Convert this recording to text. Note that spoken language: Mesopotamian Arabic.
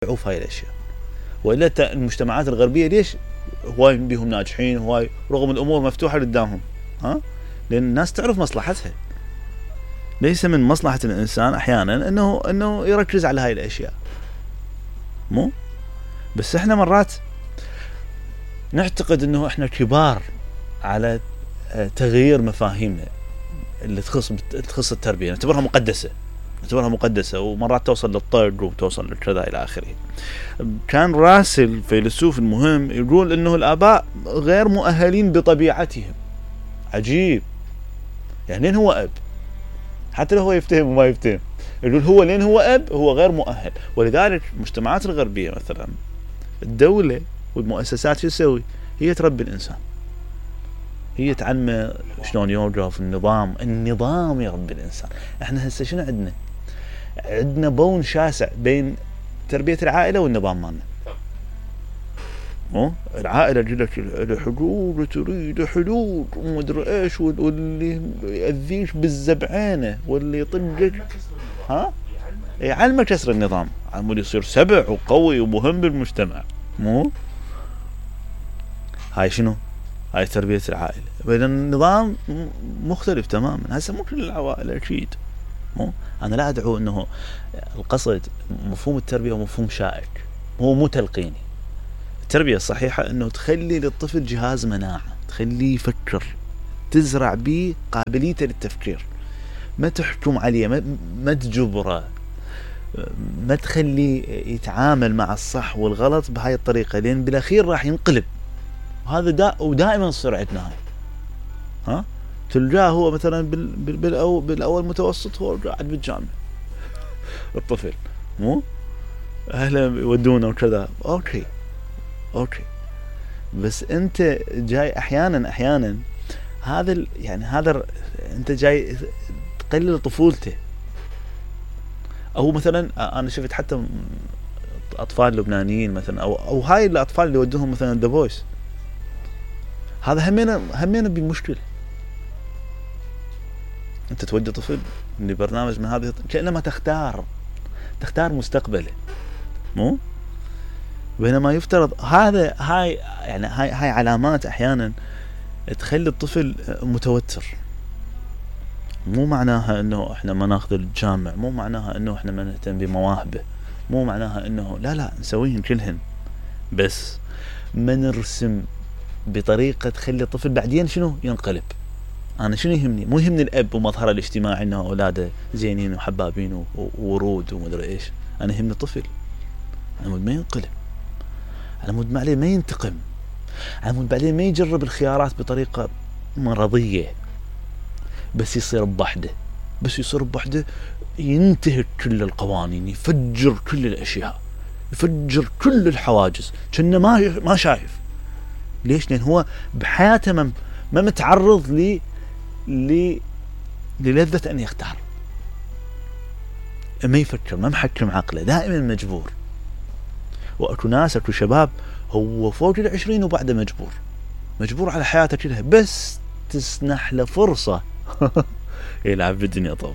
في هاي الاشياء. والا المجتمعات الغربيه ليش هواي بيهم ناجحين هواي رغم الامور مفتوحه قدامهم؟ لان الناس تعرف مصلحتها. ليس من مصلحه الانسان احيانا انه يركز على هاي الاشياء. مو بس احنا مرات نعتقد انه احنا كبار على تغيير مفاهيمنا اللي تخص التربيه، نعتبرها مقدسه ومرات توصل للطرد وتوصل لكذا الى اخره. كان راسل فيلسوف المهم يقول انه الاباء غير مؤهلين بطبيعتهم. عجيب، يعني لين هو اب حتى لو هو يفتهم وما يفتهم، يقول هو لين هو اب هو غير مؤهل. ولذلك المجتمعات الغربيه مثلا الدوله والمؤسسات شو تسوي؟ هي تربي الانسان، هي تعلمه شلون يوقف، النظام يربي الانسان. احنا هسه شنو عندنا بون شاسع بين تربيه العائله والنظام مالنا. العائله جلك الحدود وتريد حدود ومدري ايش، واللي يأذيش بالزبعانه واللي يطقك يعلمك كسر النظام عمود يصير سبع وقوي ومهم بالمجتمع. هاي شنو؟ هاي تربية العائلة. بين النظام مختلف تماما. هسه مو كل العوائل اكيد. انا لا ادعو انه القصد مفهوم التربية ومفهوم شائك، مو تلقيني. التربية الصحيحة انه تخلي للطفل جهاز مناعة، تخليه يفكر، تزرع به قابليته للتفكير، ما تحكم عليه، ما تجبره، ما تخليه يتعامل مع الصح والغلط بهاي الطريقة، لان بالاخير راح ينقلب. وهذا ودائما تصير عندنا هاي. تلقاه هو مثلا بالاول متوسط هو قاعد بالجامعة الطفل، مو اهله يودونه وكذا، اوكي بس انت جاي احيانا هذا انت جاي تقلل طفولته. او مثلا انا شفت حتى اطفال لبنانيين مثلا او هاي الاطفال اللي يودوهم مثلا ذا فويس، هذا همينا بمشكلة. انت تودي طفل لبرنامج من هذه كأنما تختار مستقبله، مو بينما يفترض هاي علامات احيانا تخلي الطفل متوتر. مو معناها انه احنا ما ناخذ الجامع، مو معناها انه احنا ما نهتم بمواهبه، مو معناها انه لا نسويهن كلهن، بس ما نرسم بطريقة تخلي الطفل بعدين شنو ينقلب. انا شنو يهمني؟ مو يهمني الاب ومظهره الاجتماعي انه اولاده زينين وحبابين وورود ومدري ايش. انا يهمني الطفل، انا مود ما ينقلب، انا مود ما عليه ما ينتقم، انا مود بعدين ما يجرب الخيارات بطريقة مرضية، بس يصير بوحده ينتهك كل القوانين، يفجر كل الاشياء، يفجر كل الحواجز، كأنه ما شايف. ليش؟ لأن هو بحياته ما متعرض للذة أن يختار، ما يفكر، ما محكم عقله، دائما مجبور. وأكو ناس أكو شباب هو فوق 20 وبعده مجبور على حياته كلها، بس تسنح له فرصة يلعب بالدنيا طب.